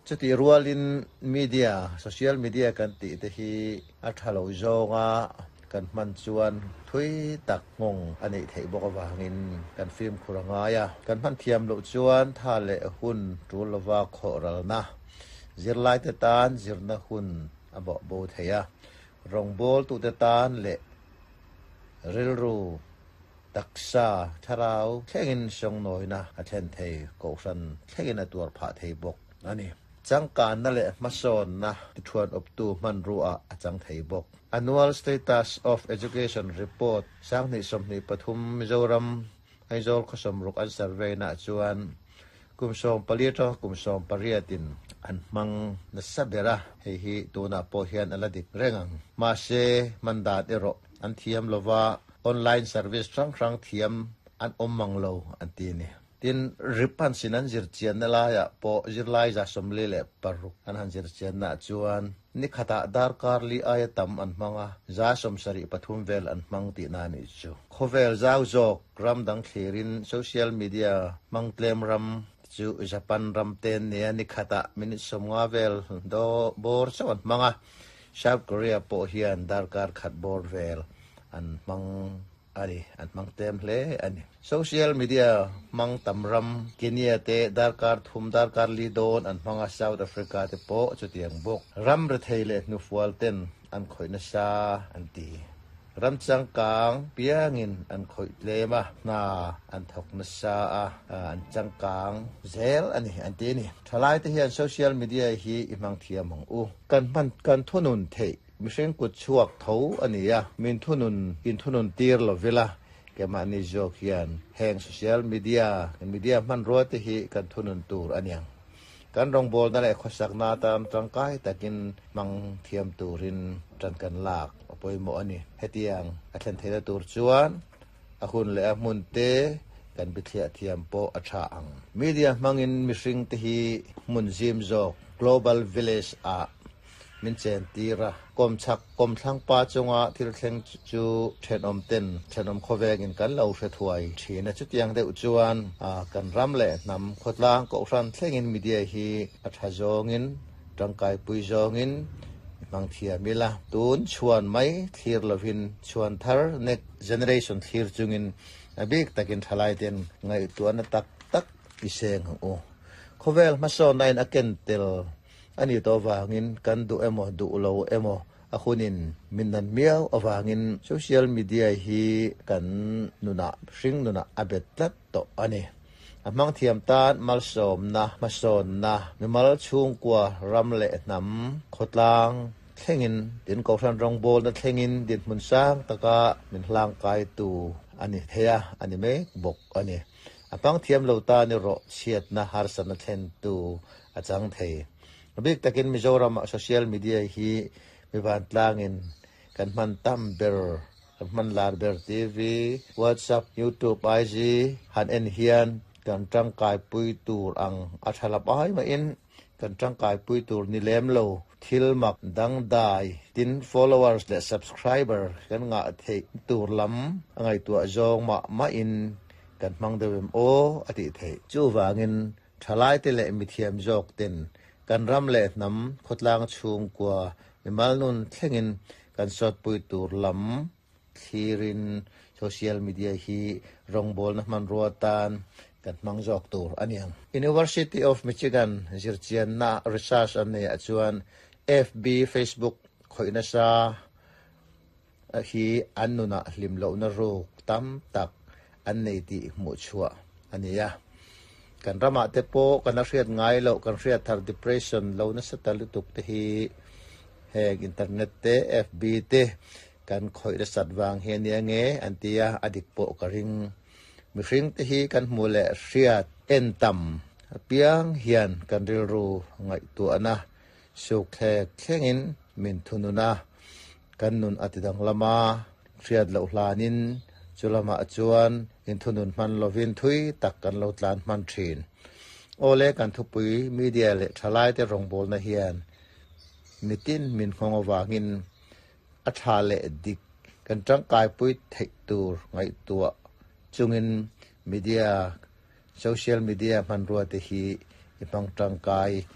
Chutih rualin media, social media kan tih te hi a tha lo zawnga kan hman chuan thui tak nghawng a neih theih bawk avangin kan fimkhur a ngai a. Kan hman thiam loh chuan tha leh hun tul lova khawhralna, zirlaite tan zirna hun a bawh bo thei a, rawngbawltute tan leh rilru taksa thlarau thlengin sawngnawina a thlen thei, kohhran thlengin a tuar phah thei bawk a ni. Changkanna leh hmasawnna tithuan awptu hmanrua a chang thei bawk. Annual Status of Education Report 2023 Mizoram Aizawl khaw sawmruk an survey naah chuan kum 14 atanga kum 18 in an hmang nasa ber a, hei hi tunah pawh hian a la dik reng ang. Mahse, hman dan erawh an thiam lova, online service hrang hrang thiam an awm mang lo an ti a ni. Tin, rip han sin an zir chianna laiah pawh zirlai 46 an han zir chiannaah chuan ni khatah darkar li aia tam an hmang a, 73 vel an hmang tihna a nih chu. Khawvel zau zawk ram dang thlirin social media hmang tlem ram chu Japan ram te an nia, ni khatah minute 50 vel bawr chauh an hmang a, South Korea pawh hian darkar khat bawr vel an hmang a ni, an hmang tlem hle a ni. Social media hmang tam ram Kenya te darkar thum darkar li dawn an hmang a, South Africa te pawh chutiang bawk. Ram rethei leh hnufual ten an khawih nasa an ti. Ram changkang piangin an khawih tlem a, hna an thawk nasa a, an changkang zel a ni an ti a ni. Thalaite hian social media hi i hmang thiam ang u. Kan hman kan thunun theih mihring kut chhuak tho a ni a, min thunun in thunun tir lo vela keimahni zawk hian heng social media media hmanrua te hi kan thunun tur a niang. Kan rawngbawlna leh khawsakna atan tangkai takin hmang thiam turin tan kan lak a pawimawh a ni. Hetiang a thlen theihna tur chuan a hun leh a hmun te kan bithliah thiam pawh a tha ang. Media hmangin mihring te hi hmun zim zawk, global village, ah min chen tir a, kawmchhak kawmthlang pa chunga thil thleng chu thenawm ten thenawm khawvengin kan lo hre thuai thin a. Chutiang deuh chuan kan ram leh hnam khawtlang kohhran thlengin media hi a tha zawngin tangkaipui zawngin i hmang thiam ila. Tun chhuan mai thlir lovin chhuan thar next generation thlir chungin a bik takin thalai ten ngaihtuahna tak tak i seng ang u. Khawvel hmasawnna in a ken tel A nih tawh avangin kan duh emaw duh lo emaw a hunin min nan miau avangin social media hi kan nunah hring nunah a bet tlat tawh a ni. A hmang thiam tan malsawmna, hmasawnna, mimal chhungkua, ram leh hnam, khawtlang thlengin, din kohhran rawngbawlna thlengin dinhmun sang taka min hlangkaitu a ni thei a, a ni mek bawk a ni. A hmang thiam lo tan erawh chhiatna harsatna thlentu a chang thei. A bik takin Mizoramah social media hi mi vantlangin kan hman tam ber, kan hman lar ber TV, WhatsApp, YouTube, IG han en hian kan tangkaipui tur ang a tha lap ai mahin kan tangkaipui tur ni lem lo thil mak dangdai tin followers leh subscriber kan ngah theih tur lam a ngaihtuah zawng mah mahin kan hmang deuh em aw a tih theih. Chuvangin Thalaite leh mithiam zawk ten kan ram leh hnam khawtlang chhungkua mimal nun thlengin kan sawtpui tur lam thlirin social media hi rawngbawlna hmanrua tan kan hmang zawk tur a ni ang. University of Michigan zirchianna research an neiah chuan FB, Facebook, khawih nasa hi an nunah hlim lohna ruk tam tak an nei tih hmuh chhuah a ni a. Kan ramah te pawh kan a hriat ngai loh, kan hriat thar depression lo nasa ta lutuk te hi heng internet te, FB te kan khawih nasat vang hi a nia nge an ti a, a dik pawh ka ring. Mihring te hi kan hmuh leh hriat en tam apiang hian kan rilru ngaihtuahna Sukthlek thlengin min thunun a, kan nun a ti danglam a, hriat loh hlanin chu lamah chuan inthunun hman lovin thui tak kan lo tlan hman thin. Awle kan thupui media leh thalaite rawngbawlna hian mitin min nghawng avangin a tha leh dik kan tangkaipui theih tur ngaihtuah chungin media social media hmanrua te hi i hmang tangkai.